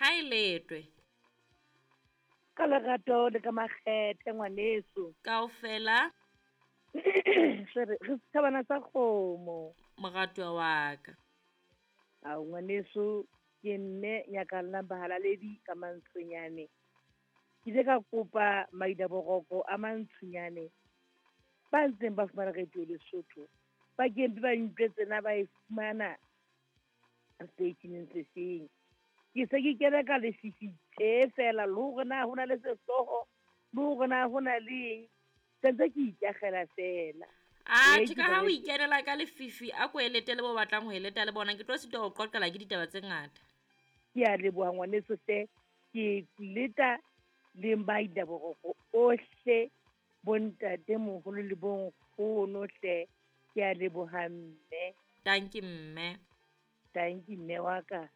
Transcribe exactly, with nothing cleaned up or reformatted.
Ha e letwe. Ka lerato le ka makgethe ngwaneso. Kaofela. Re re setjhabana sa kgomo. Moratuwa wa ka. Ao ngwaneso, ke mme Nyakallang Bahalaledi ka Mantsonyane. Ke ile ka kopa Maida Boroko a Mantsonyane ba ntseng ba fumana radio Lesotho. Ba ke mpe ba utlwe tsena ba e fumana seteisheneng se feng. Ke se ke kene ka lefifi tje feela le hore na ho na le sehlooho, le hore na ho na le eng. Sentse ke ikakgela feela. Atjhe, ka ha o ikenela ka lefifi, a ko elete le bo batlang ho eleta le bona. Ke tlo sitwa ho qoqela ke ditaba tse ngata. Ke a leboha ngwaneso hle. Ke leta le Maida Boroko ohle, bontatemoholo le bonkgono hle. Ke a leboha mme. Tanki mme. Tanki mme wa ka.